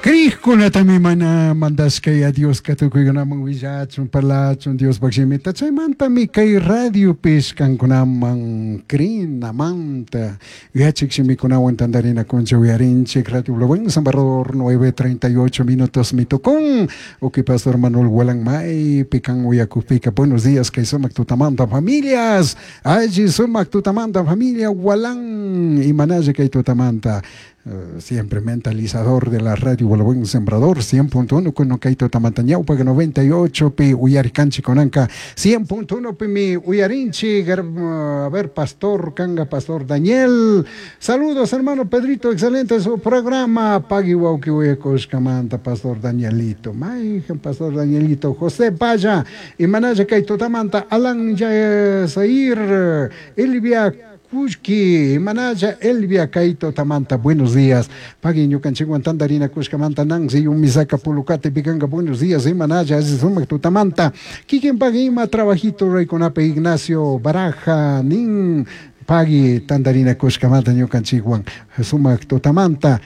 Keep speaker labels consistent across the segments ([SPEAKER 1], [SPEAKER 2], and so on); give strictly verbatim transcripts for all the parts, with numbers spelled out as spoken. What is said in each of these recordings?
[SPEAKER 1] Crijkunatami mana mandashka Dioska tukuykunaman willachun parlachun Diospaj shimita chaymantami kay radiopish kankunaman crinamanta yachik shimikunawan tantarinakunchik uyarinchik Radio Buen Salvador nueve treinta y ocho minutos mitukun uki Pastor Manuel Gualanmay pikan uyakupika buenos días kay sumak tutamanta familias alli sumak tutamanta familia Gualán imanalla kay tutamanta. Uh, siempre mentalizador de la radio Buen Sembrador cien punto uno con Kaito Tamantañaupa noventa y ocho pi Uyaricanchi conanca cien punto uno pi mi Uyarinchi. A ver, Pastor Kanga, Pastor Daniel, saludos hermano Pedrito, excelente su programa. Pagui wauki uyakoshkamanta Pastor Danielito, Maijan Pastor Danielito, José Vaya y Manaya Kaito Tamanta, Alan Yasair, Elvia Kushki, Manaya, Elvia, Kaito, Tamanta, buenos días. Pagui, ñukanchikwan tantarina Kushkamanta, Nancy, Umisaka, Pulucate, Picanga, buenos días. Manaya, Sumak, Tutamanta. Kikin Pagui, ima trabajito, Reyconape, Ignacio, Baraja, Nin, Pagui, tantarina Kushkamanta, ñukanchikwan, Sumak, Tutamanta.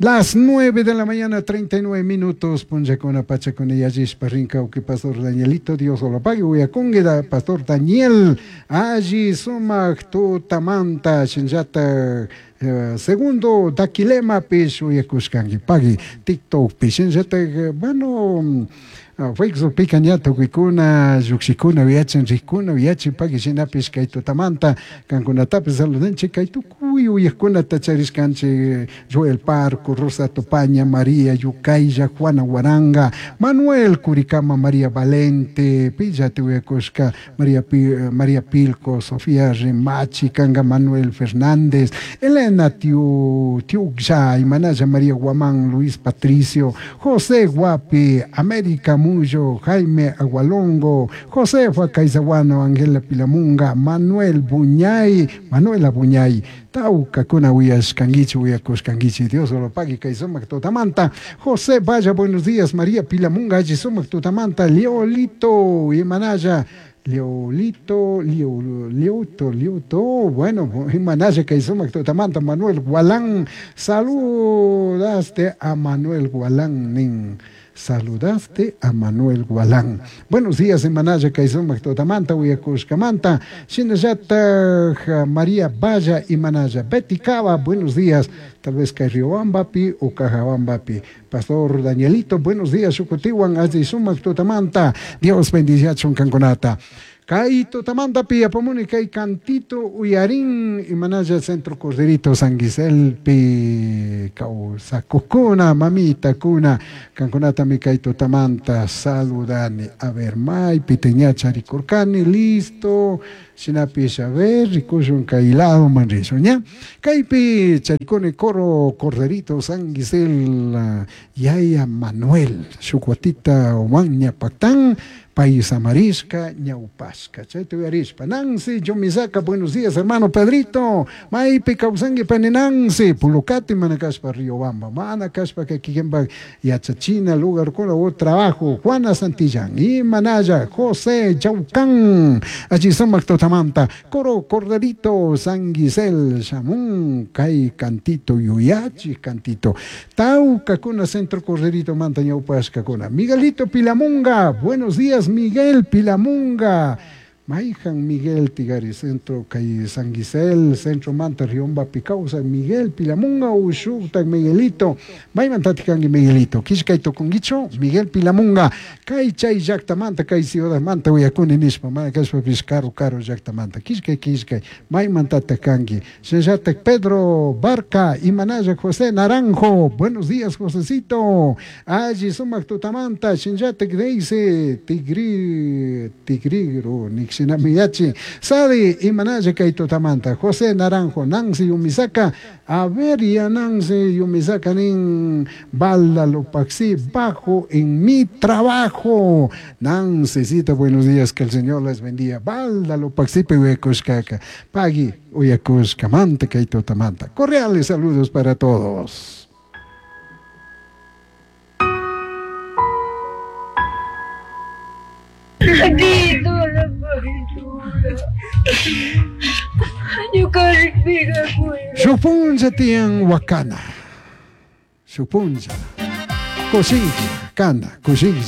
[SPEAKER 1] Las nueve de la mañana, treinta y nueve minutos, punchakuna pachakuna yallishpa rinka uki Pastor Danielito, Dios lo pague, uyakungida, Pastor Daniel, alli sumak tutamanta, shinllata, eh, segundo daquilema pish uyakushkanki, pagui, TikTok pish, shinllata, bueno, Facebook pica ña tukuykuna, lluqshikuna, uyachin rikkuna, uyachin pagui shinapish kay tutamanta, kankunatapis saludanchik kay tukuy uyaqkunata charishkanchik, Joel Parco, Rosa Topaña, María Yucaylla, Juana Guaranga, Manuel Curicama, María Valente, Pillate uyakushka, María, Pi, María Pilco, Sofía Remachi, Kanga Manuel Fernández, Elena Tiu, Tiuxay, Manaya María Guamán, Luis Patricio, José Guapi, América Muyo, Jaime Agualongo, Josefa Caizaguano, Angela Pilamunga, Manuel Buñay, Manuela Buñay, Taucacuna uyashkanguichi, uyakushkanguichi, Dios lo pague, kay sumak tutamanta, José Vaya, buenos días, María Pilamunga, alli sumak tutamanta, Leolito y Manaya, Leolito, Leo, Leoto, Leoto, bueno, Manaya kay sumak tutamanta, Manuel Gualán, saludaste a Manuel Gualán, nin. Saludaste a Manuel Gualán. Buenos días, Manaya, Kaizumak, Totamanta, Uyakushkamanta, Shinayata, María Vaya y Manaya. Betty Cava, buenos días. Tal vez Kairiobambapi o Cajabambapi. Pastor Danielito, buenos días, Shukutiwan, Azizumak, Totamanta. Dios bendiga Chuncanconata. Kay tutamanta pi apamuni kay cantito uyarin y Manaya Centro Corderito San Guiselpi kawsakukuna mamita kuna kankunata mi kay tutamanta saludani. A ver, maypi teña charikurkani, listo. Shinapish, a ver, rikushun kay lado man rishun, ña. Kaypi charikuni coro Corderito San Guisel Yaya Manuel Shukwatita Omaña Pactán Paisamarisca, Ñaupasca, chayta uyarishpa. Nancy Yomisaka, buenos días, hermano Pedrito. Maypi kawsanki pani Nancy, Pulucati, manakashpa Riobamba, manakashpa kikinpa yachachina, lugar kuna o trabajo. Juana Santillán, y Manaya, José Chaucán, allí sumak tutamanta, Coro Corderito, San Guisel, Shamun, Kay Cantito, Yuyachi Cantito, Tauca, kuna Centro Corderito, Manta Ñaupasca, kuna. Miguelito Pilamunga, buenos días, Miguel Pilamunga, Maijan Miguel Tigari, Centro Kay San Guisel, Centro Manta, Riomba Picausa, Miguel Pilamunga, Ushukta, Miguelito, Maimantatikangi Miguelito, Kishkay Tokunguicho, Miguel Pilamunga, Kay Chay Llactamanta, Kay Ciudad Manta, Uyakuni Nishpa, Manakashpa Caro Caro Llactamanta, Kishkay Kishkay, Maimantatakangi, Sheshatek Pedro Barca, Imanaya José Naranjo, buenos días Josecito, Allí Sumak Tutamanta, Shinyatek Deise, Tigri, Tigrigro, Nixinamiyachi, Sadi, Imanaya Kay Tutamanta, José Naranjo, Nancy Yumisaka, a ver, ya Nancy Yumisaka nin Balda Lopaxi, bajo en mi trabajo. Nancycita, buenos días, que el Señor les bendiga. Balda Lopaxi, Pehuecushcaca, Pagui, Uyacushcamanta, Kay Tutamanta. Cordiales saludos para todos. Shupunza tiyan wakana. Shupunza. Cushilla cana, cushilla.